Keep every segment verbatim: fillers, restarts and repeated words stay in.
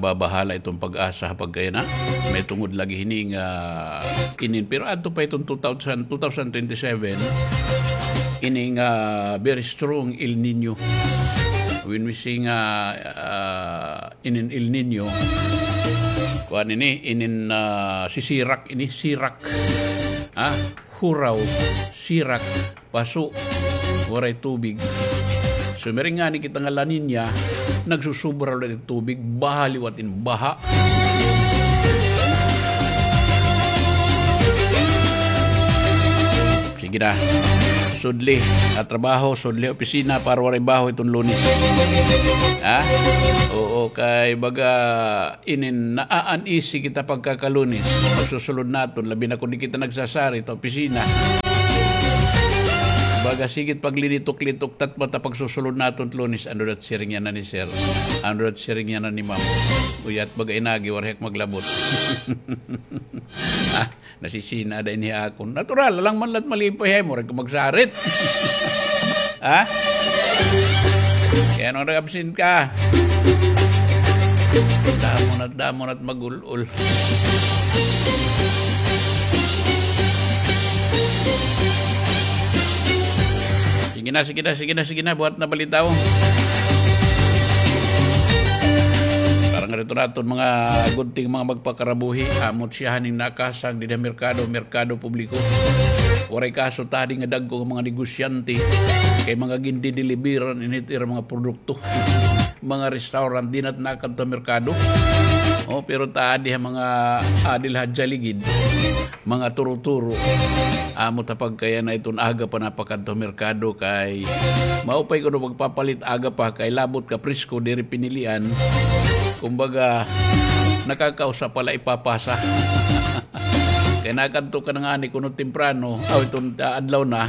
Babahala iton PAGASA ha pagkayana. May tungod lagi hini nga inin, pero adto pa iton two thousand, two thousand twenty-seven, ini nga very strong El Nino. When we say nga, ah, inin El Nino, kuan ini, inin, ah, sisirak ini, sirak. Ha? Huraw, sirak, paso, waray tubig. Sumiring ngani kita nga La Niña, nagsusubra liwat it tubig, baha liwat in baha. Sige na. Sudli ha trabaho, sudli ha opisina para waray baho iton Lunes. Ha? Oo, kay baga inin, naa-uneasy kita pagkaka-Lunes. Pagsusulod naton, labi na kon di kita nagsasarit ha opisina. Baga sige it paglinitok-litok, tatma ta pagsusulod naton Lunes, ano dat siring yana ni sir? Ano dat siring yana ni ma'am? Uyat baga inagi, waray ak maglabot. Ah, nasisina da ini ha akon. Natural, alang man la it malipay ha imo, waray ka magsarit. Ha? Kay ano nag-absent ka? Damo na, damo na it magul-ol. Sige na, sige na, sige na, sige na, buhat na balita, oh. Para nga rito naton mga gunting, mga magpakarabuhi, amot siya haning nakasang dida merkado, merkado publiko. Waray kaso tadi nga dagko nga mga negosyante, kay mga gindideliveran ini it ira mga produkto. Mga restaurant, di na it nakadto merkado. Oh, pero tadi ha mga adil ha Jaligid, mga turo-turo. Amo ta pagkayana iton aga pa napakadto merkado kay maupay kuno pagpapalit aga pa kay labot ka presko diri pinilian. Kumbaga, nakakausa pa la ipapasa. Kay nakadto ka na ngani kuno temprano, aw, iton, ah, adlaw na,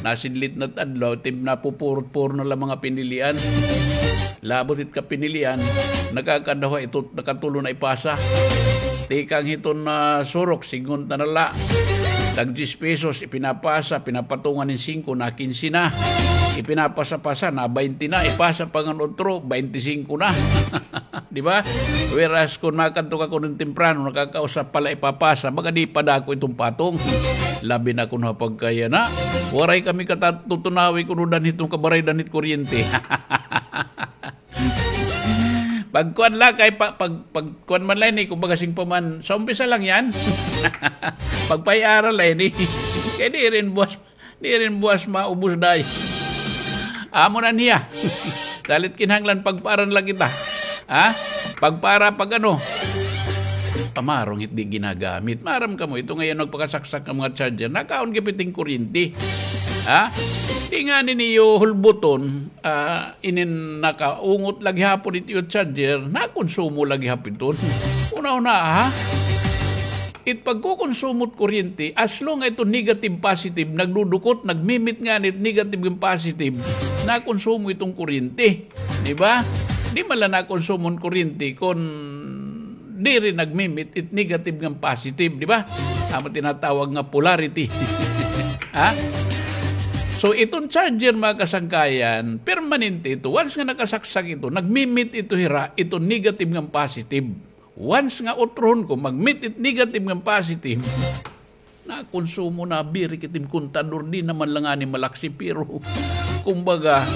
nasidlit na it adlaw, tim-, napupurot-puro na la mga pinilian. Labot it kapinilian, nakakadawa ito, nakatulo na ipasa. Tikang hiton na surok, singonta na la. Tag diyes pesos, ipinapasa, pinapatungan hin singko na, kinse na. Ipinapasa-pasa na, baynte na. Ipasa pa ngan utro, baynte singko na. Di ba? Whereas, kon makadto ka kuno temprano, nakakausa pa la ipapasa, baga di pa dako iton patong. Labi na kuno ha pagkayana. Waray kami katatutunawi kuno danhit nga kabaray danhit kuryente. Pagkuan la kay pa-, pag, pagkuan man la ini, kumbaga sing pa man, sa umpisa lang yan. Pagpay-aral la ini. Kay di rin buwas, di rin buwas maubos day. Amo na niya. Salit kinahanglan pagpaaran la kita. Ha? Pagpara, pag ano? Pamarong it di ginagamit. Maaram kamo, ito ngayon nagpakasaksak nga mga charger. Nakaon gihap iton kuryente. Ha? Di ngani niyo hulbuton, ah, inin nakaungot la gihapon it iyo charger, nakonsumo la gihap iton. Una-una, ha? It pagkokonsumo it kuryente, as long nga iton negative, positive, nagdudukot, nagmimit ngani it negative ngan positive, nakonsumo iton kuryente. Di ba? Di man la nakonsumo an kuryente kon diri nagmimit it negative ngan positive, di ba? Amo tinatawag nga polarity. Ha? So, iton charger, mga kasangkayan, permanente ito. Once nga nakasaksak ito, nagmimit ito hira, ito negative ngan positive. Once nga utrohon ko, magmit it negative ngan positive, nakonsumo na, birik it im kontador, di naman la ngani malaksi, pero, kumbaga,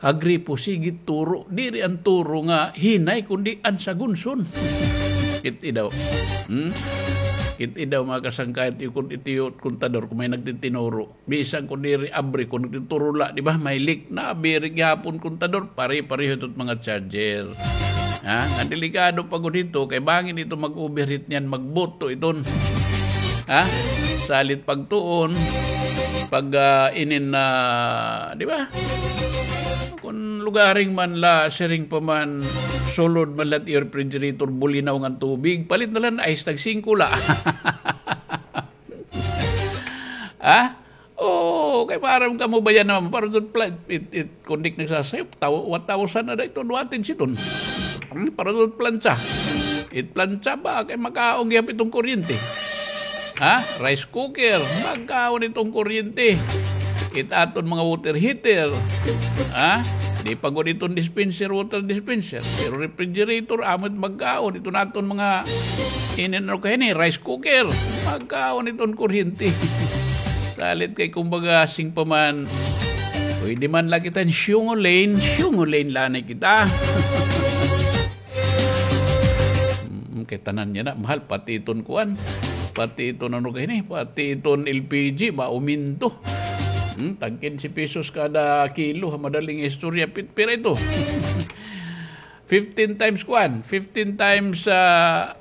ha gripo, sige it turo, diri an turo nga hinay, kundi an sagunson. Kit-i daw. Hmm? Kit-i daw, mga kasangkayan, it iyo kon-, it iyo kontador, kon may nagtitinuro. Bisan kon diri abri, kon nagtuturo la, di ba? May leak na, birik gihapon kontador, pare-pareho ito mga charger. Ha? Nga delikado pa gud ito, kay bangin ito mag-overheat niyan, magbuto iton. Ha? Salit pagtuon, pag, ah, inin na, di ba? Kon lugaring man la, siring pa man, sulod man la it iyo refrigerator, bulinaw ngan tubig, palit na la hin ice, tag singko la. Ha? Oo, kay maaram kamo ba yana, para it pla-, it, it, kon di nagsasayo, taw-, one thousand na da iton wattage iton. Hmm, para it plantsa. It plantsa ba, kay makaon gihap iton kuryente. Ha? Rice cooker, makaon iton kuryente. It aton mga water heater. Ha? Di pa gud iton dispenser, water dispenser. Pero refrigerator, amo it magkaon. Iton aton mga inin, ano kay ini, rice cooker. Magkaon iton kuryente. Salit kay kumbaga, sing pa man, pwede man la kita siyungulin, siyungulin la anay kita. Mm, kay tanan yana mahal, pati iton kuan, pati iton ano kay ini, pati iton L P G, mauminto. Hmm, tag kinse pesos kada kilo, ha madaling istorya, pit-, pira ito? Fifteen times kuan, fifteen times, ah,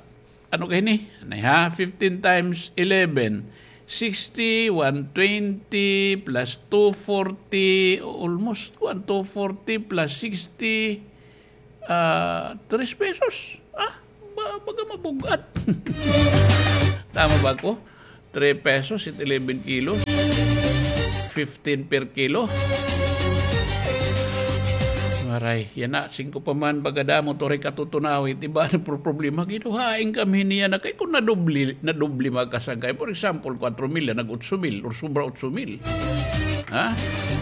ano kay ini? Anay ha, fifteen times eleven, sixty, one twenty plus two forty, almost kuan, two forty plus sixty, ah, tres pesos. Ah, ba-, baga mabug-at. Tama ba ako? Three pesos it eleven kilos. Fifteen per kilo. Waray, yana, singko pa man, baga damo, turay katutunaw, it iba na pro-, problema. Giduhain kami niya na kay kung nadubli, nadubli mga kasangkay. For example, kwatro mil, nag-otso mil, or sobra otso mil. Ha?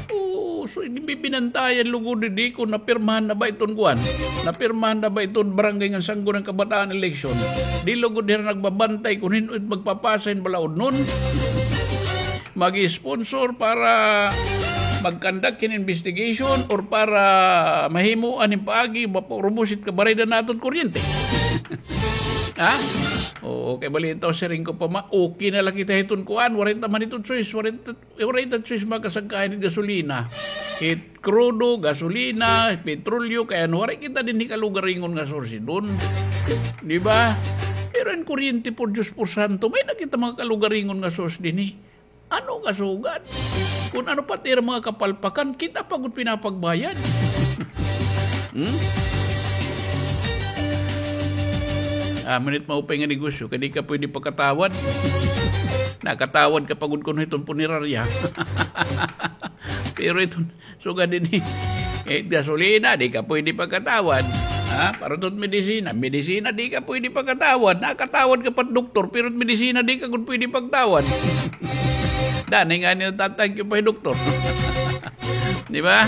Oo, so, binantayan lugod di ko, napirmahan na ba iton kuan? Napirmahan na ba iton barangay nga sanggo ng kabataan election? Di lugod hira nagbabantay kung hin-o it magpapasa hin balaod nun. Mag-sponsor para mag-conduct hin investigation or para mahimuan hin paagi, mapaurubos it kabaraydan naton kuryente. Ha? Oo, kay balitaw siring ko pa ma-, okay na la kita hiton kuan, waray ta man ito choice, waray ta Eh, waray ta choice, mga kasangkayan, it gasolina. It krudo, gasolina, petrolyo, kay ano, waray kita dinhi kalugaringon nga source dun. Di ba? Pero an kuryente, por Diyos, por santo, may-ada kita mga kalugaringon nga source dinhi. Ano kasugad? Kung ano pa it ira mga kapalpakan, kita pa gud pinapagbayad. Hmm? Ah, minit maupay nga negosyo, kay di ka pwede pakatawad. Nakatawad ka pa gud kuno hiton punerarya. Pero iton, sugad dinhi, eh, gasolina, di ka pwede pakatawad. Ha? Para iton medisina, medisina, di ka pwede pakatawad. Nakatawad ka pa doktor, pero medisina, di ka gud pwede pagtawad. Danay ngani natatag-iyo pa doktor. Di ba?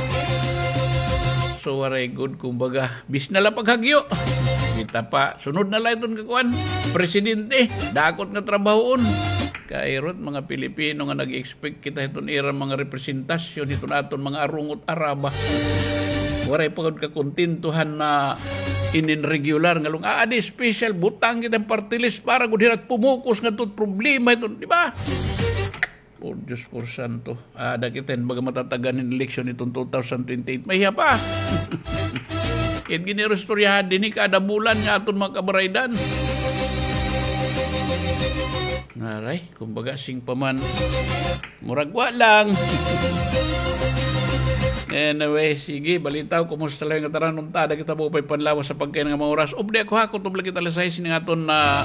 So, waray gud, kumbaga, bis na la paghagyo. Kita pa, sunod na la iton kakuan, presidente, dakot nga trabahoon. Kay irot mga Pilipino nga nag-expect kita hiton ira mga representasyon, hiton aton mga arungot araba. Waray pa gud kakontentuhan na inin regular nga lung-, ah, adi special, butang kita party list para gud hira pumukos ngadto hit problema hiton, di ba? Por Diyos, por santo. Ah, da kita hin baga matatagan hin eleksyon hiton two thousand twenty-eight. Mahiya pa. It giniristoryahan dinhi kada bulan nga aton mga kabaraydan. Aray, kumbaga, sing pa man. Murag wa lang. Anyway, sige, balitaw, kumusta la nga tanan unta? Ada kita maupay panlawas ha pagkain nga mga oras. Updi ako ha, kutob la kita alas sais nga aton, ah,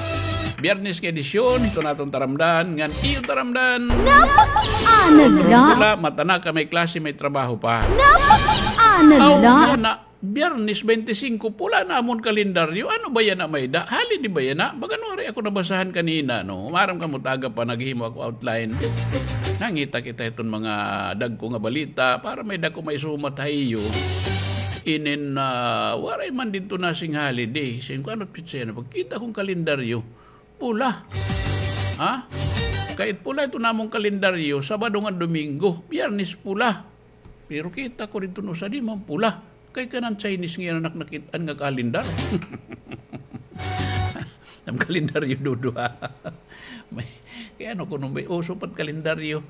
Biyernes nga edisyon, hiton aton taramdan, ngan iyo taramdan. Napakiana la. Wala, mata na ka, may klase, may trabaho pa. Napakiana la. Aw, yana, Biyernes twenty-five, pula na amon kalendaryo. Ano ba yana, may-ada? Holiday ba yana? Baga waray ako nabasahan kanina, no? Maaram kamo, taga pa, naghimo ako outline. Nangita kita hiton mga dagko nga balita para may-ada ko maisumat ha iyo. Inin, ah, waray man didto na sing holiday. Sing ko, ano petsa yana? Pagkita ko hin kalendaryo, pula. Ha? Kay pula iton amon kalendaryo, Sabado ngan Domingo, Biyernes pula. Pero kita ko didto, no, usa di man pula. Kay kanan Chinese nga iya nakit-an nga kalendar. An kalendaryo, Dodo, ha? May, kay ano kuno, may uso pa it kalendaryo.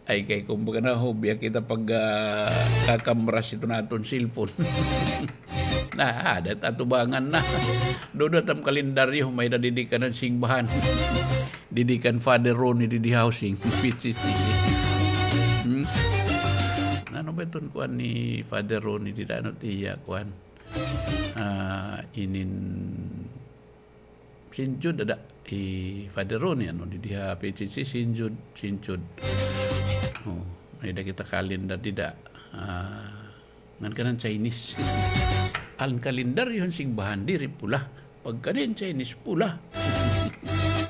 Ay, kay kumbaga na, hobby kita pag, ah, kakamras hiton aton cellphone. Na, ada it atubangan na. Dodo, it am kalendaryo, may-ada didi kanan singbahan. Didi kan Father Ronnie didi housing, P C C. Hmm? Ano ba iton kuan ni Father Ronnie dida? Ano it iya kuan? Ah, inin Saint Jude, ada. Eh, Father Ronnie, ano, didi ha P C C, Saint Jude, Saint Jude. Oh, may-ada kita kalendar dida. Ah, ngan kanan Chinese. An kalendaryo han singbahan, diri pula. Pagkadi han Chinese, pula.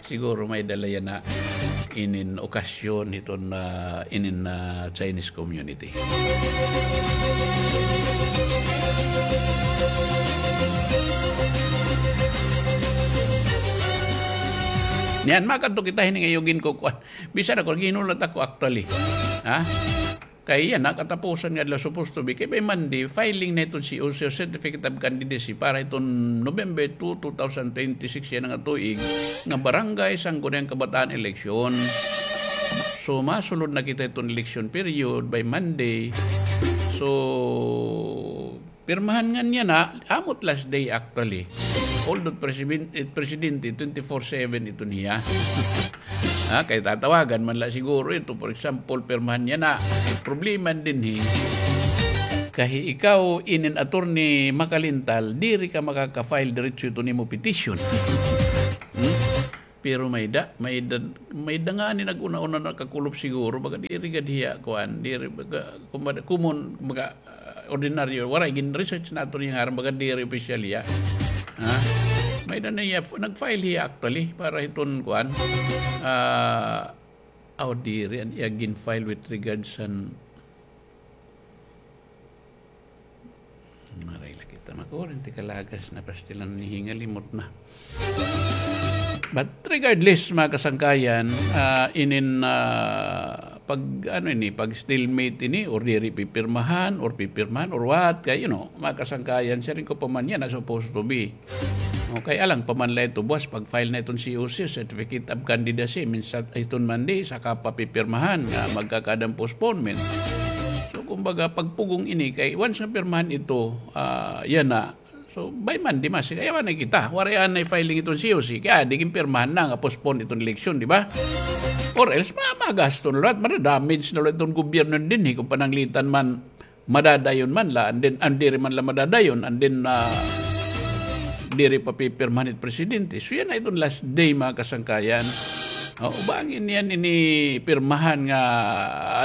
Siguro may-ada la yana. inin okasyon hiton, ah, inin, ah, Chinese community. Niyan, makadto kita hini nga iyo ginkukuan. Bisan ako, ginulat ako actually. Ha? Kay yana, katapusan nga adlaw supposed to be. Kay by Monday, filing na iton C O C o Certificate of Candidacy para iton November two, two thousand twenty-six yana nga tuig, nga Barangay Sangguniang Kabataan election. So, masulod na kita iton election period by Monday. So, pirmahan ngan yana, amo it last day actually. Although president, eh, presidente, twenty-four seven iton hiya. Ha, kay tatawagan man la siguro ito, for example, pirmahan yana. Problema dinhi. Kay ikaw, inin Attorney Macalintal, diri ka makaka-file diretso iton imo petition. Hmm? Pero may-ada, may-ada, may-ada ngani nag-una-una nakakulop siguro, baga diri gad hiya, kuan, diri, baga, kumbaga, common, baga, ah, ordinaryo, waray, gin-research naton hiya ngaran, baga diri opisyal hiya. Ha? May-ada na hiya, f-, nag-file hiya actually, para hiton, kuan, ah, aw, diri, an iya gin-file with regards an Maray la kita makurinti kalagas na pastilan ni hingalimot na. But regardless, mga kasangkayan, ah, inin, ah, pag, ano ini, pag stalemate ini, or diri pipirmahan, or pipirmahan, or what, kay, you know, mga kasangkayan, siring ko pa man yana supposed to be. Okay, alang pa man la ito, buwas, pag-file na iton C O C, Certificate of Candidacy, minsan iton Monday, saka pa pipirmahan nga magkakaada an postponement. So, kumbaga, pagpugong ini, kay once nga pirmahan ito, ah, yana. So, by Monday, masi, kay waray na kita, waray anay filing iton C O C, kay adi ginpirmahan na nga postpone iton eleksyon, di ba? Or else, ma-, magasto na liwat, madadamage na liwat iton gobyerno dinhi, kung pananglitan man, madadayon man la, and then, an diri man la madadayon, and then, ah, diri pa pipirmahan it presidente. So, yana iton last day, mga kasangkayan. O, bangin niyan ini pirmahan nga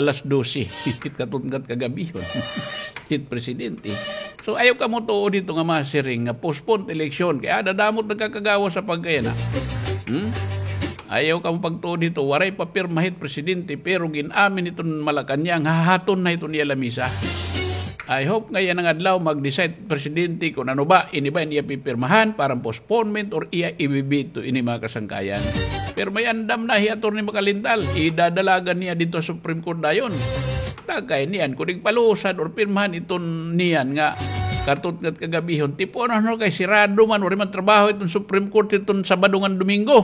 alas dose, hit katungkat kagabihon. Hit presidente. So, ayaw kamo tuod hito nga masiring nga postpone election. Kay ada damo it nagkakagawas ha pagkayana. Hmm? Ayaw kamo pagtuod hito, waray pa pirma hit presidente, pero gin-amin hiton Malacañang, hahaton na hiton iya lamisa. I hope nga yana nga adlaw mag-decide presidente kon ano ba, ini ba an iya pipirmahan para postponement or iya ibibito ini, mga kasangkayan. Pero may andam na hi Attorney Macalintal, idadalagan niya didto ha Supreme Court dayon. Takay niyan, kon igpalusad or pirmahan iton niyan nga katungkat kagabihon, tipuon na kay sirado man, waray man trabaho iton Supreme Court iton Sabado ngan Domingo.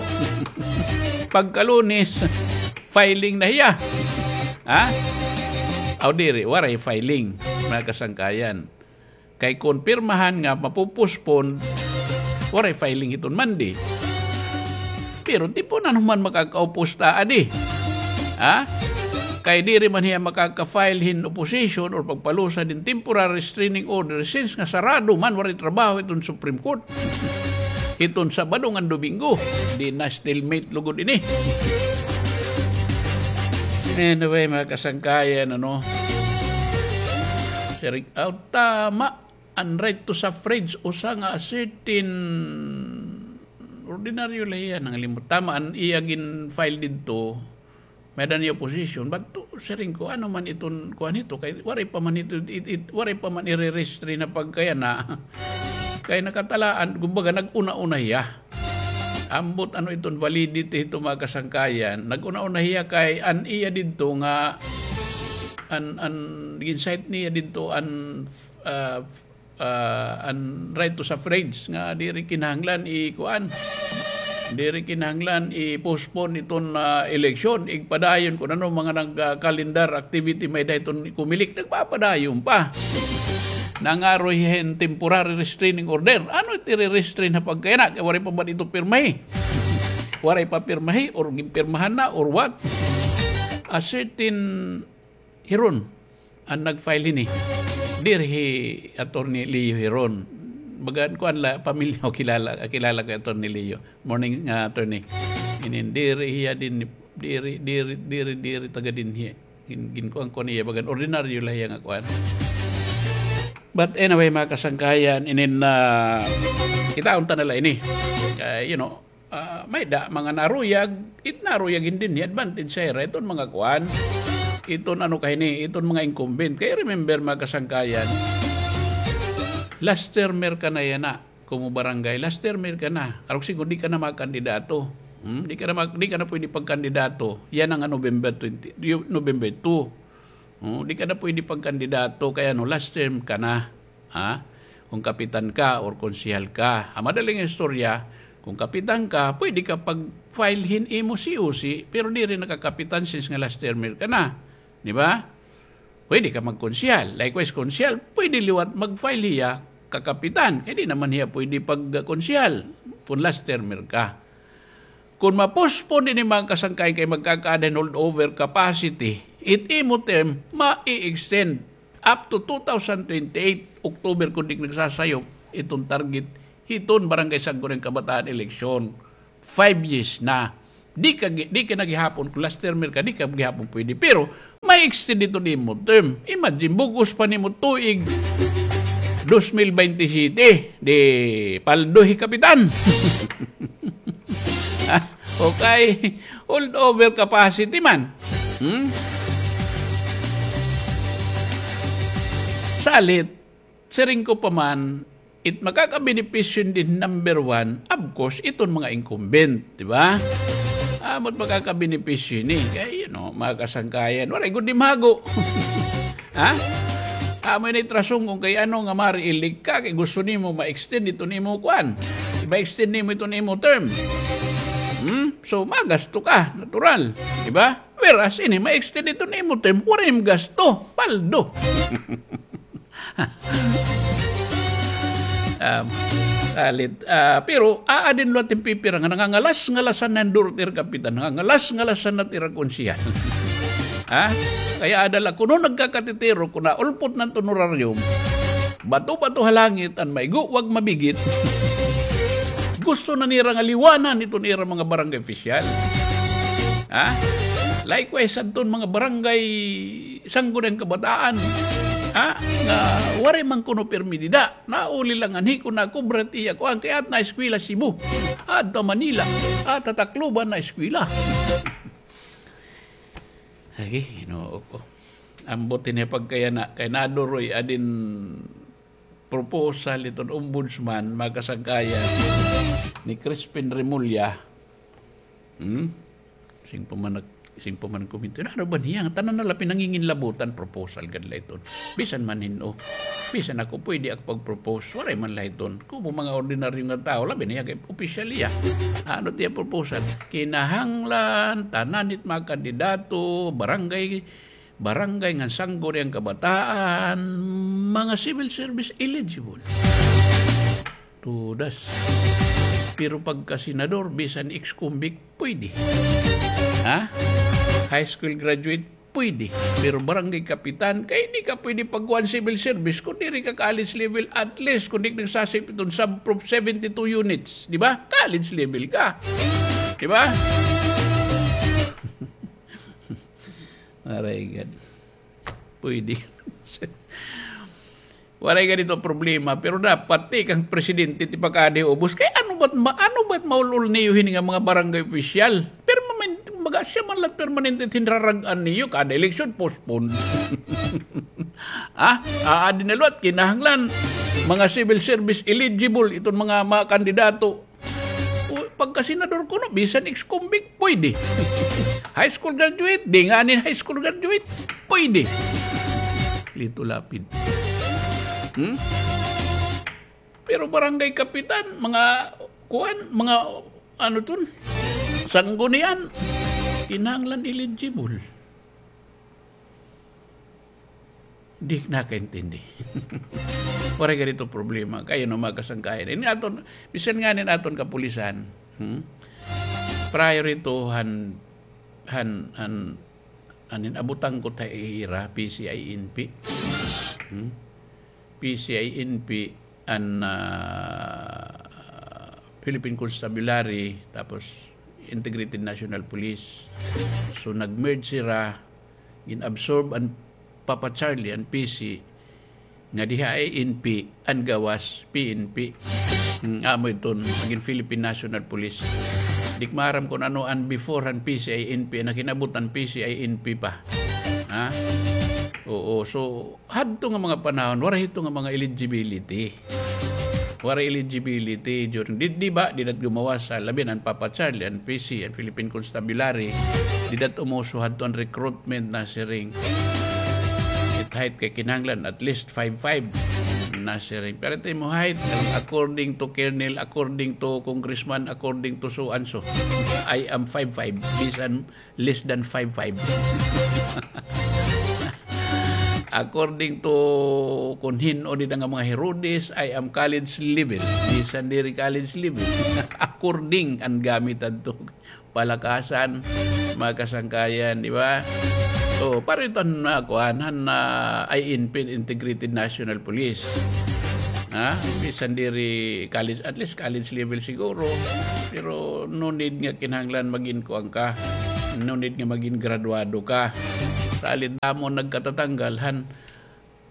Pagka Lunes, filing na hiya. Ha? Aw, diri, waray filing, mga kasangkayan. Kay kon pirmahan nga mapo-postpone, waray filing hiton Monday. Pero tipunan human makakaupos ta adi. Ha? Kay diri man hiya makaka-file hin opposition or pagpalusad hin temporary restraining order since nga sarado man, waray trabaho hiton Supreme Court. Hiton Sabado ngan Domingo, di na stalemate lugod ini. Anyway, mga kasangkayan, ano, siring, aw, tama, an right to suffrage, usa nga certain, ordinaryo la hiya, nangalimot. Tama, an iya gin-file didto, may-ada niya opposition, but to, siring ko, ano man iton kuan hito, kay waray pa man hito, it, it, waray pa man ire-restrain na pagkayana. Kay nakatalaan, kumbaga, nag-una-una hiya. Ambot ano iton validity hito, mga kasangkayan, nag-una-una hiya kay an iya didto nga, an, an, gin-cite niya didto an, ah, ah, an right to suffrage nga diri kinahanglan i-kuan. Diri kinahanglan i-postpone iton, ah, eleksyon. Igpadayon kon ano mga nag, ah, calendar activity may-ada hiton COMELEC. Nagpapadayon pa. Nangaroy hin temporary restraining order. Ano it ire-restrain ha pagkayana? Kay waray pa man ito pirmahi. Waray pa pirmahi or ginpirmahan na or what? A certain Heron an nag-file hini. Diri hi Attorney Leo Heron. Bagan kuan la, pamilya o kilala, kilala ko Attorney Leo. Morning, ah, Attorney. Inin, diri hiya dinhi, diri, diri, diri, diri taga dinhi. Gin-, ginkuan ko niya, bagan ordinaryo la hiya nga kuan. But anyway, mga kasangkayan, inin, ah, kitaon ta na la ini. Kay, you know, Ah, may-ada mga naruyag, it naruyag hin dinhi, advantage ha ira iton mga kuan. Iton ano ka hini, iton mga incumbent. Kay remember, mga kasangkayan, last termer ka na yana, kuno barangay, last termer ka na. Arog siring ko, di ka na makandidato. Hmm? Di ka na ma-, di ka na pwede pagkandidato. Yana nga November twenty, yu-, November two. Oh, di ka na pwede pagkandidato kay ano, last term ka na. Ha? Kung kapitan ka or konsehal ka. An madaling istorya, kung kapitan ka, pwede ka pag-file hin imo C O C, pero diri na ka kapitan since nga last termer ka na. Di ba? Pwede ka magkonsehal. Likewise, konsehal, pwede liwat mag-file hiya kakapitan. Kay di naman hiya pwede pagkonsehal kung last termer ka. Kon ma-postpone ini, mga kasangkayan, kay magkakaada hin holdover capacity, it imo term ma-extend up to two thousand twenty-eight October, kon di nagsasayop iton target hiton Barangay Sangguniang Kabataan election. Five years na. Di ka gi-, di ka na gihapon, kon last termer ka, di ka gihapon pwede. Pero ma-extend iton imo term. Imagine, bug-os pa nimo tuig dos mil baynte siyete, di paldo hi kapitan. Ah, okay. Holdover capacity man. Hmm? Salit, siring ko pa man, it makakabenepisyo hini number one, of course, iton mga incumbent, di ba? Amo it makakabenepisyo hini. Kay, you know, mga kasangkayan, waray gud ni mago. Ha? Amo ini it rason kon kay ano nga ma-re-elect ka, kay gusto nimo ma-extend iton imo kuan. Ma-extend nimo iton imo term. Hmm? So, magasto ka, natural. Di ba? Whereas, ini, ma-extend iton imo term, waray nim gasto. Paldo. Um, salit. Ah, pero, aadin liwat hin pipira nga nangangalas-ngalasan na hin duro it ira kapitan, nangangalas-ngalasan na it ira konsehal. Ha? Kay aada la kuno nagkakatitiro, kon naulpot na it honorarium, bato-bato ha langit an maigo, wag mabigit. Gusto na nira nga liwanan iton ira mga barangay opisyal. Ha? Likewise, adton mga barangay Sangguniang Kabataan, ha? Nga waray man kuno pirmi dida. Nauli la nganhi kon nakubra it iya kuan, kay aada na eskwela Cebu. Aada Manila. Aada Tacloban na eskwela. Agi, Ginoo ko. Ambot ini pagkayana, kay naduroy adin proposal iton ombudsman, mga kasangkayan, ni Crispin Remulla. Hmm? Siring pa man nag-, siring pa man nagkomento. Ano ba niya? Tanan na la pinanginginlabutan, proposal gad la iton. Bisan man hin-o. Bisan ako, pwede ako pag-propose. Waray man la iton. Kuno mga ordinaryo nga tawo, labi na hiya kay opisyal hiya. Ano it iya proposal? Kinahanglan, tanan it mga kandidato, barangay, barangay ngan Sangguniang Kabataan, mga civil service eligible. Tudas. Pero pagka senador, bisan ex-convict, pwede. Ha? High school graduate, pwede. Pero barangay kapitan, kay di ka pwede pagkuan civil service kon diri ka college level, at least kon di ka nagsasayop iton sub-prof seventy-two units, di ba? College level ka. Di ba? Aray, God. Pwede. Waray gad ito problema, pero dapat tikang presidente it ipakaada ha ubos. Kay ano ba it ma-, ano ba it maul-ol niyo hini nga mga barangay opisyal? Permanente, kumbaga, siya man la it permanente it hinrarag-an niyo, kada eleksyon, postpone. Ha? Aadi na liwat, kinahanglan mga civil service eligible iton mga, mga kandidato. O, pagka senador kuno, bisan ex-convict, pwede. High school graduate, di nganin high school graduate, pwede. Lito Lapid. Hmm? Pero barangay kapitan, mga kuan, mga ano ton, sanggunian, kinahanglan eligible. Di nakaintindi. Waray gad ito problema. Kay ano, mga kasangkayan. Ini aton, bisan nganin aton kapulisan, hmm? Prior ito han, han, han, anin, abutang ko ta ira, P C I N P. Hmm? P C I N P an, ah, Philippine Constabulary, tapos Integrated National Police. So, nag-merge sira, gin-absorb an Papa Charlie, an P C, nga diha I N P, an gawas P N P. Hmm, amo iton, magin Philippine National Police. Di ko maaram kon ano an before han P C I N P, an nakinabot han P C I N P pa. Ha? Oo, so, hadto nga mga panahon, waray hito nga mga eligibility. Waray eligibility during, di, di ba, dida it gumawas ha, labi na an Papa Charlie, an P C, an Philippine Constabulary, dida it umuso hadto an recruitment nasiring. It height kay kinahanglan, at least five five nasiring. Pero it imo height, according to Colonel, according to Congressman, according to so and so, I am five five. Bisan less than five five. According to kon hin-o dida nga mga Herodes, I am college level. Bisan diri college level. According an gamit adto. Palakasan, mga kasangkayan, di ba? O, pareho iton, ah, kuan, han, ah, I N P, Integrated National Police. Ha? Bisan diri college, at least college level siguro. Pero no need nga kinahanglan magin kuan ka. No need nga magin graduado ka. Salit damo nagkatatanggal han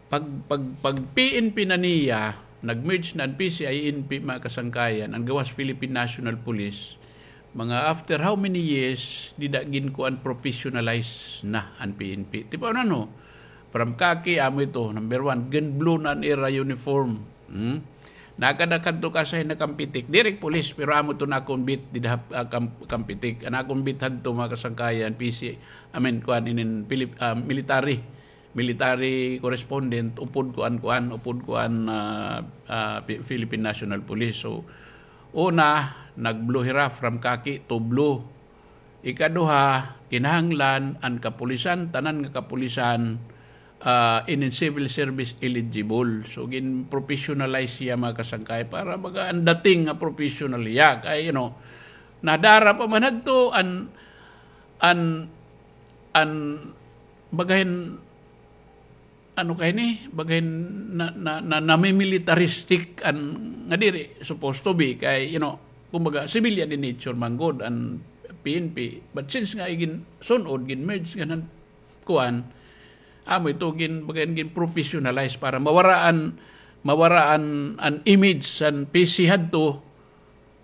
pag, pag, pag P N P na niya, nag-merge na an P C I N P, mga kasangkayan, an gawas Philippine National Police. Mga after how many years, dida ginkuan, professionalize na an P N P. Tipo ano, no? From khaki, amo ito, number one, gin-blue na an ira uniform. Hmm? Nakadakad to kasay na Campetic. Diri police, pero amo to na akon beat, dida, ah, Cam-, Campetic. An akon beat hadto, mga kasangkayan, P C, I mean, kuan, inin, Pilip-, ah, military. Military correspondent, upod kuan, kuan, upod kuan, ah, ah, Pi-, Philippine National Police. So, una, nag-blue hira, from khaki to blue. Ikaduha, kinahanglan an kapulisan, tanan nga kapulisan, ah, inin civil service eligible. So, gin-professionalize siya, mga kasangkay, para baga an dating nga professional hiya. Kay, you know, nadara pa man hadto an, an, an, bagahin, ano kay ni, bagahin na, na, na, namimilitaristic an, nga diri supposed to be kay, you know, kumbaga, civilian in nature man gud an P N P. But since nga igin-sun-od, gin-merge nga nan kuan, amo ito, gin-, bagahin gin-professionalize para mawara an, mawara an, an image san P C hadto,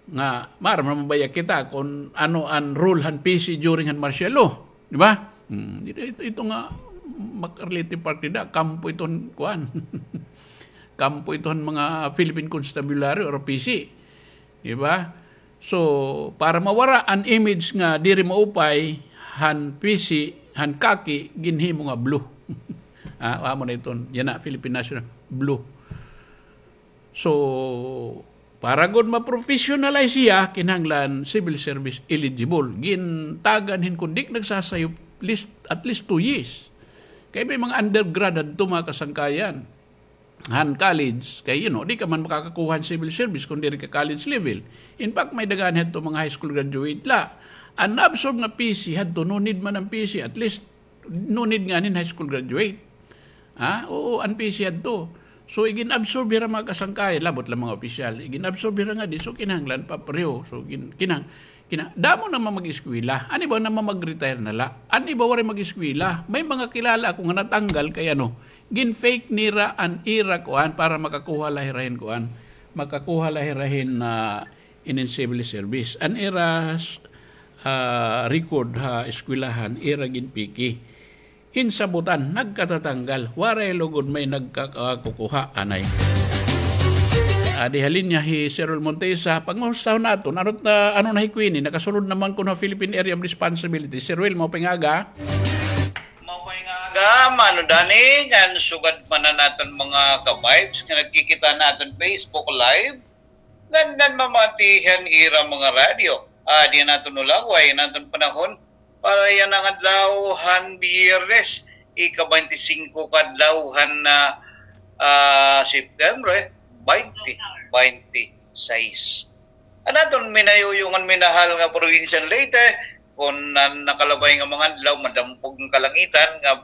nga maaram naman baya kita kon ano an role han P C during han martial law, di ba? Hmm, ito, ito, ito nga makarelative part nida, kampo iton kuan. Kampo iton mga Philippine Constabulary or P C, di ba? So, para mawara an image nga diri maupay han P C, han khaki, ginhimo nga blue. Ah, amo na iton, yana, Philippine National, blue. So, para gud ma-professionalize hiya, kinahanglan civil service eligible. Gintagan hin kon di ka nagsasayop, least, at least two years. Kay may mga undergrad hadto, mga kasangkayan, han college, kay, you know, di ka man makakakuha han civil service kon diri ka college level. In fact, may daghan hadto mga high school graduate la. An na-absorb nga P C hadto, no need man an P C, at least, no need nganin high school graduate. Ha? Oo, an P C hadto. So, igin-absorb hira mga kasangkayan, labot la mga opisyal. Igin-absorb hira ngadi, so kinahanglan pa pareho. So, gin-, kinang-, kinang-, damo naman mag-eskwela. An iba naman mag-retire na la. An iba waray mag-eskwela. May mga kilala ako nga natanggal kay ano, gin-fake nira an ira kuan para makakuha la hira hin kuan. Makakuha la hira hin, ah, inin civil service. An ira, ah, record ha eskwelahan, ira ginpiki. Insabutan, nagkatatanggal, waray lugod may nagkakakukuha, anay. Adi ha linya hi Sir Will Montesa, pangustahon naton, ano ta, ano na hi Queenie, nakasulod naman kuno ha Philippine Area of Responsibility. Sir Will, maupay nga aga. Maupay nga aga, Mano Danny, ngan sugad man an aton mga ka-vibes nga nagkikita han aton Facebook Live, ngan nanmamati han ira mga radyo. Adi an aton ulaway, an aton panahon, para yana nga adlaw han Biyernes, ika-baynte singko ka adlaw han, ah, ah, September, baynte baynte sais. An aton minayuyong ngan minahal nga probinsya han Leyte, kon an nakalabay nga mga adlaw, madampog an kalangitan, nga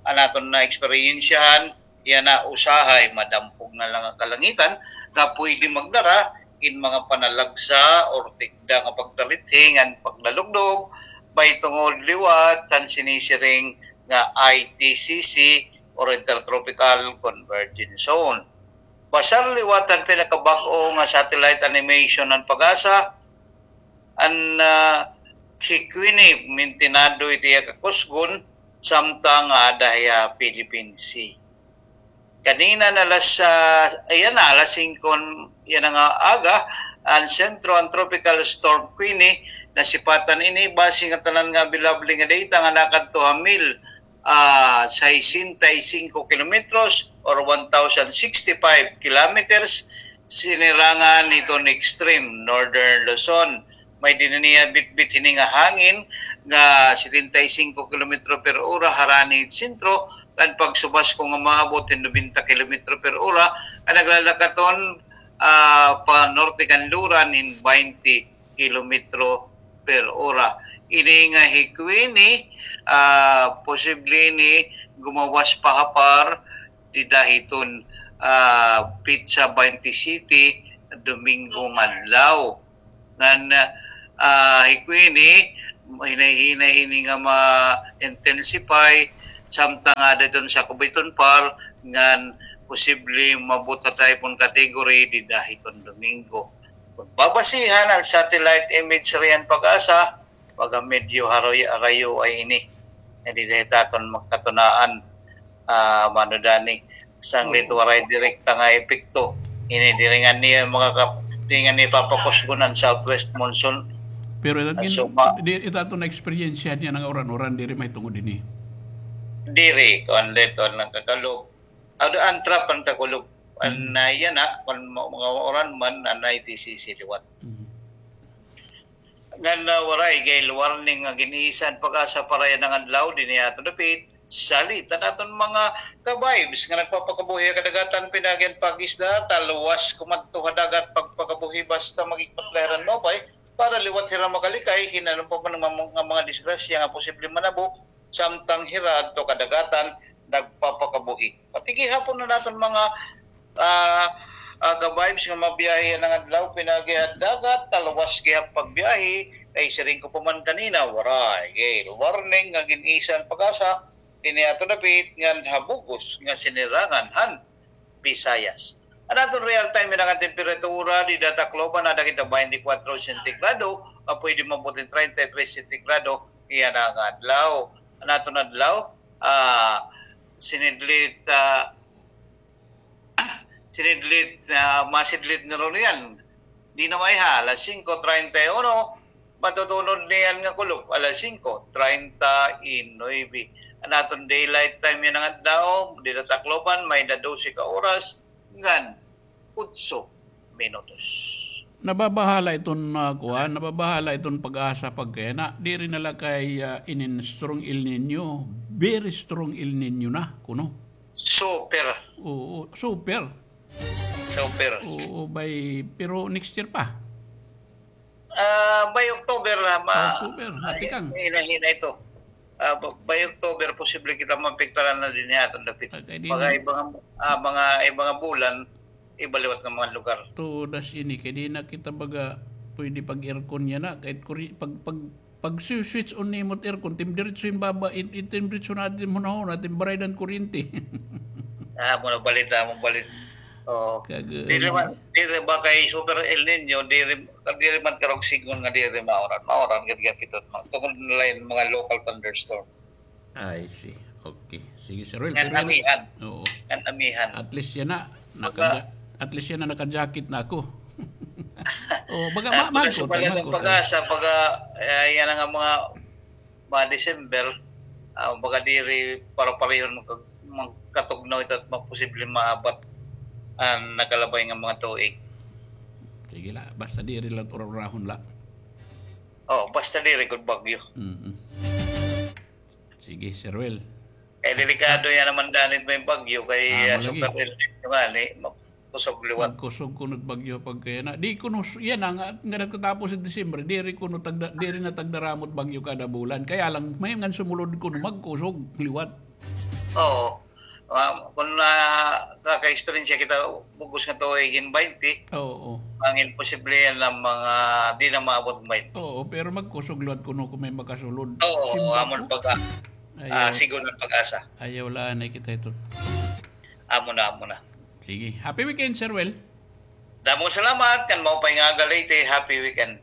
an aton naeksperyensyahan, yana usahay madampog na la nga kalangitan nga pwede magdara hin mga panalagsa or tikda nga pagtalithi ngan paglalugdog mahitungod liwat han sinisiring nga I T C C or Intertropical Convergence Zone. Basar liwat an pinakabag-o nga satellite animation han PAGASA, an, ah, Hikwini, mintinado it iya kakusgon, samtang ada hiya Philippine Sea. Kanina na alas, ah, ayan na, alas singko yana nga aga, an sentro an Tropical Storm Queenie, nasipatan ini base nga tanan nga available nga data nga nakadto ha mil, ah, sesenta y cinco kilometros or one thousand sixty-five kilometers, sinirangan hiton extreme northern Luzon. May dinhi niya bitbit hini nga hangin nga setenta y cinco kilometro per ora harani sentro, kan pagsubas ko nga maabot hin nobenta kilometro per ora, an naglalakaton, ah, pa norte kanluran hin baynte kilometro per ora. Ini nga Hikwini, ah, posible ini gumawas pa ha par dida hiton, ah, petsa baynte siyete, Domingo nga adlaw. Ngan, ah, Hikwini, hinay-hinay ini nga ma-intensify, samtang ada hiton sakob hiton par, ngan posible maabot ha typhoon category dida hiton Domingo. Kon babasihan an satellite imagery han PAGASA, baga medyo harayo-harayo ini. Nga dida hit aton magkatunaan, ah, Mano Danny. Sanglit waray direkta nga epekto. Ini diri ngani mga kap-, diri ngani papakusgon an southwest monsoon. Pero it, ah, so, ma- di, it aton na-experience niya nga uran-uran, diri may tungod ini. Diri, kuan dito, nagkakalob. Ada an trap an kakulob. An, ah, yana, kon ma-, mga uran man, anay T C C liwat. Ngan, ah, waray gale warning nga gin-isa han PAGASA para yana nga adlaw dinhi ha aton dapit. Salit an aton mga ka-vibes nga nagpapakabuhi ha kadagatan, pinaagi han pag-isda, talwas kumadto ha dagat pagpakabuhi basta mag-ikot la hira hin maupay para liwat hira makalikay hin ano pa man nga mga, nga mga disgrasya nga posible manabo samtang hira adto kadagatan nagpapakabuhi. Pati gihapon an aton mga, ah, ah, ka-vibes nga mabiyahe yana nga adlaw, pinaagi ha dagat, talwas gihap pagbiyahe, kay siring ko pa man kanina, waray gale warning nga gin-isa han PAGASA dinhi ha aton dapit ngan ha bug-os nga sinirangan han Visayas. An aton real time yana nga temperatura dida ha Tacloban, ada kita baynte kwatro sentigrado, nga pwede maabot hin treinta y tres sentigrado yana nga adlaw. An aton adlaw, ah, sinidlit, ah, sinidlit, ah, masidlit na runo yan. Di na maiha, alas singko treinta y uno, matutunod niyan nga kulop, alas singko treinta y nuebe. An aton daylight time yana nga adlaw, dida ha Tacloban, may-ada dose ka oras ngan otso minutos. Nababahala iton, ah, kuan, nababahala iton PAGASA pagkayana. Diri na la kay, ah, inin strong El Niño, very strong El Niño na kuno. Super. Oo, super. Super. Oo, by, pero next year pa. Ah, by October na, ma-, October, matikang. Hinahinay ito. Ah, ba-, by October, posible kita maapektaran na dinhi ha aton dapit. Kay di na. Mga ibang, ah, mga, ibang bulan, iba liwat nga mga lugar. Tudas ini, kay di na kita baga pwede pag-aircon yana. Kahit kuri-, pag, pag, pag-switch on nimo it aircon, tim diretso hin baba, it, it tim diretso na, tim hunahuna, tim baraydan kuryente. Ah, muna balit, ah, muna balit. Oo. Diri man, diri ba kay super El Niño, diri, diri man karog sigon nga diri mauran. Mauran gad gihapon. Tungod na la hin mga local thunderstorm. I see. Okay. Sige, Sir Will. Ngan amihan. Oo. Ngan amihan. At least yana, naka-, at least yana, naka-jacket na ako. Oh, baga, ah, ma-, baga, mahal ko, mahal ko. PAGASA, baga, eh, yana nga mga, mga December, ah, baga diri para-parehon magka-, magkatugnaw ito at maposible maabat an nakalabay nga mga tuig. Sige la, basta diri la urahon la. Oh, basta diri gud bagyo. Mm-mm. Sige, Sir Will. Eh, delikado yana man danit may bagyo kay, ah, super El Niño ngani, magkusog liwat. Magkusog kuno it bagyo pagkayana. Di kuno s-, yana nga, nga nagtatapos it Disyembre, diri kuno tagda-, diri na tagdaramot bagyo kada bulan. Kaya lang, may ngan sumulod kuno magkusog liwat. Oo. Ah, kon nakaka-eksperyensya kita, bug-os nga tuig hin baynte, oo, ang imposible yana mga di na maabot hin baynte. Oo, pero magkusog liwat kuno kon may makasulod. Oo, amo na pagka, ah, sigon an PAGASA. Ayaw la anay kita ito. Amo na, amo na. Sige. Happy weekend, Sir Well. Damo nga salamat, kan maupay nga aga, Leyte. Happy weekend.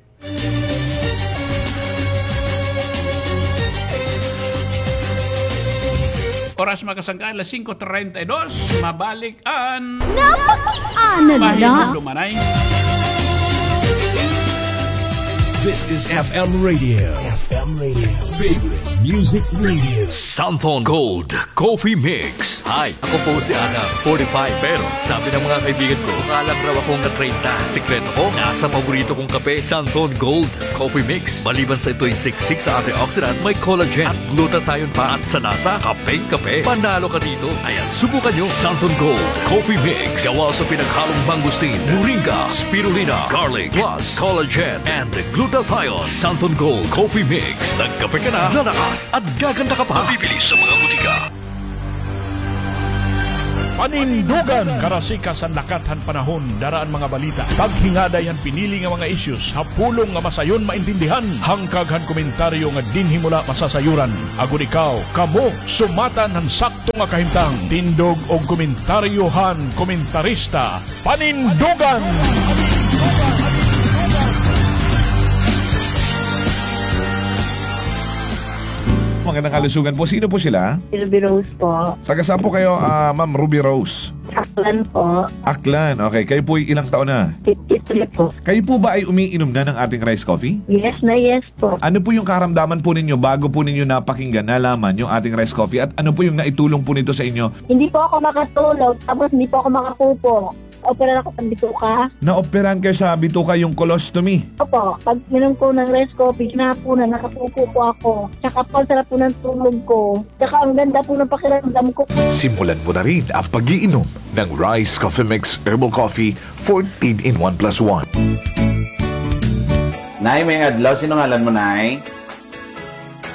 Oras, mga kasangkayan, alas singko treinta y dos. Mabalik an Napakiana la. Pahinumduman. This is F M Radio. F M Radio. Favorite Music Radio. Santhon Gold Coffee Mix. Hi, ako po si Ana, forty-five. Pero sabi ng mga kaibigan ko, mukha lang raw akong na-treinta. Sikreto ko, nasa paborito kong kape, Santhon Gold Coffee Mix. Maliban sa ito'y siksik sa antioxidants, may collagen at glutathione pa. At sa lasa, kapeng-kape. Panalo ka dito. Ayan, subukan nyo. Santhon Gold Coffee Mix. Gawa sa pinaghalong mangosteen, moringa, spirulina, garlic, plus collagen and glutathione. Santhon Gold Coffee Mix. Nagkape ka na, lalakas at gaganda ka pa. Mabibili sa mga butika. Panindugan, karasikas han lakat han panahon, dara an mga balita. Paghingaday han pinili nga mga issues ha pulong nga masayon maintindihan. Hangkag han komentaryo nga dinhi mo la masasayuran. Agod ikaw, kamo, sumatan han sakto nga kahimtang. Tindog og komentaryo han komentarista. Panindugan! Magandang kalusugan po. Sino po sila? Ruby Rose po. Taga saan po kayo, ah, Ma'am Ruby Rose? Aklan po. Aklan. Okay. Kayo po ay ilang taon na? Fifty-three po. Kayo po ba ay umiinom na ng ating rice coffee? Yes na yes po. Ano po yung karamdaman po ninyo bago po ninyo napakinggan, nalaman yung ating rice coffee? At ano po yung naitulong po nito sa inyo? Hindi po ako makatulog, tapos hindi po ako makapupo. Opera ako sa bituka. Naoperahan kayo sa bituka, yung colostomy? Opo. Pag minom ko ng rice coffee, hinapunan, nakapupo po ako. Tsaka po, ang sarap po ng tulog ko. Tsaka ang ganda po ng pakiramdam ko. Simulan mo na rin ang pag-iinom ng Rice Coffee Mix Herbal Coffee fourteen in one plus one. Nay, may adlaw. Sino ngalan mo, Nay?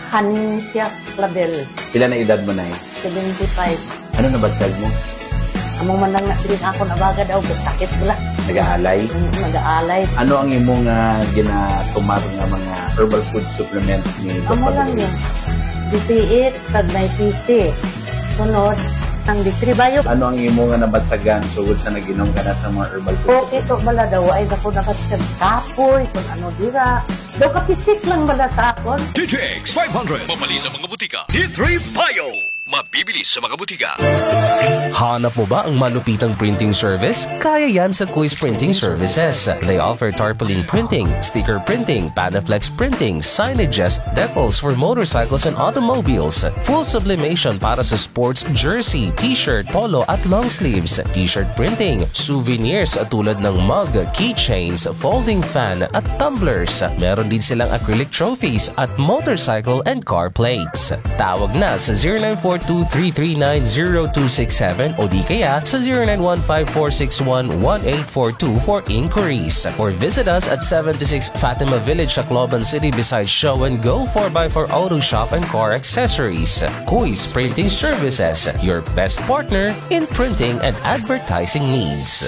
Hanesia Clavel. Pila na edad mo, Nay? Seventy-five. Ano nabatyag mo? Amo man lang na, diri ako nabaga daw, sakit bala. Nag-aalay? Mm, nag-aalay. Ano ang imo nga ginatumar nga mga herbal food supplements ni Amo Doktor lang Luis? Yun. D T X, pag may P C. Sunod, ang D three Bio. Ano ang imo nga nabatyagan sugod sa nag-inom ka na sa mga herbal food? Okay, to bala daw, ay, ako nabatyag kapoy, kung ano dira. Daw kapisik lang bala sa akon. D T X five hundred. Mabali sa mga butika. D three Bio. Mabibili sa mga butika. Hanap mo ba ang malupitang printing service? Kaya yan sa Kuis Printing Services. They offer tarpaulin printing, sticker printing, Panaflex printing, signages, decals for motorcycles and automobiles, full sublimation para sa sports jersey, t-shirt, polo at long sleeves, t-shirt printing, souvenirs tulad ng mug, keychains, folding fan at tumblers. Meron din silang acrylic trophies at motorcycle and car plates. Tawag na sa zero nine four two three three nine zero two six seven o di kaya sa zero nine one five four six one one eight four two for inquiries. Or visit us at seventy-six Fatima Village, Tacloban City, beside Show and Go four by four Auto Shop and Car Accessories. Kuis Printing Services, your best partner in printing and advertising needs.